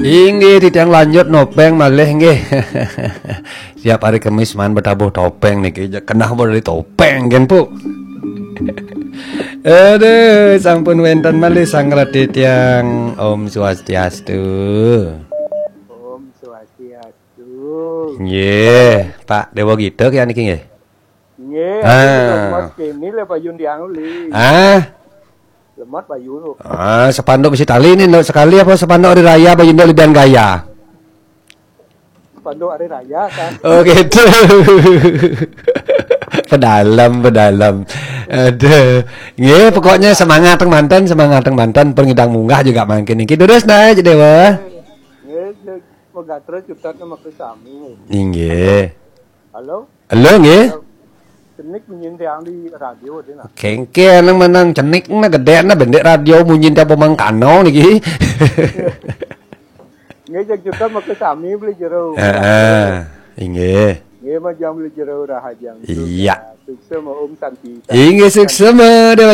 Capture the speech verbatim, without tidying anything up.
Inggih, titiang lanjut nopéng malih nggih. Tiap hari Kemis maan betabuh topéng niki, ja-, kenah beli topéng kan, Pu. Aduh, sampun wénten malih sang reti tiang. Om Swastiastu. Om Swastiastu. Nggih, Pak Déwa Gita kaya niki nggih. Nggih, ah, lemot kéné lé bayun tiang uli. Ah. Lemot bayun. Ah, sepanduk bisi tali nih, nduk sekali apa sepanduk hari raya bayun nduk lebihan gaya? Sepanduk hari raya kan. Oh gitu. Pedalem, pedalem. Aduh. Nggih, pokoknya semangat teng manten, semangat teng manten, pengidang munggah juga mangkin niki. Terus naik, Déwa. Nggih, nggih, megatra cutet nama ke sami. Inggih. Halo? Halo, nggih. Cenik munyin tiang di radio dina. Kéngkén nang menang cenik na gedé na bendek radio munyin tiang pemangkano niki. Nggih, jeg juga maka sami beli jero. Heeh, inggih. Nggih, majang beli jero rahajang. Iya. Sukses ma Om Santi. Inggih, sukses ma Déwa